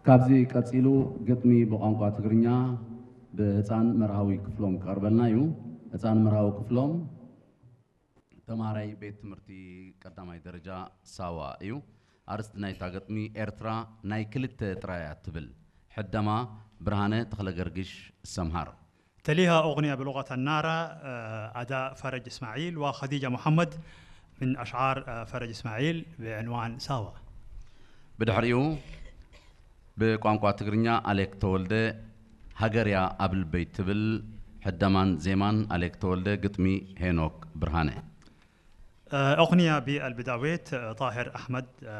ካብዚ ቀጺሉ ግጥሚ ብቋንቋ ትግርኛ ብህፃን መርሃዊ ክፍሎም ክቐርበልና እዩ። ህፃን መርሃዊ ክፍሎም ተማሃራይ ቤት ትምህርቲ ቀዳማይ ደረጃ ሳዋ እዩ። ኣርእስቲ ናይታ ግጥሚ ኤርትራ ናይ ክልተ ጥራያ ትብል። ሕደማ ብርሃነ ተኽለገርግሽ ሰምሃር። تليها أغنية بلغة النارا، آه، أداء فرج إسماعيل وخديجة محمد، من أشعار، آه، فرج إسماعيل بعنوان ساوا. ብድሕሪኡ ብቋንቋ ትግርኛ ኣሌክ ተወልደ ሃገርያ ኣብ ልበይ ትብል። ሕደማን ዜማን ኣሌክ ተወልደ፣ ግጥሚ ሄኖክ ብርሃነ። آه، أغنية بالبداويت، آه، طاهر أحمد، آه،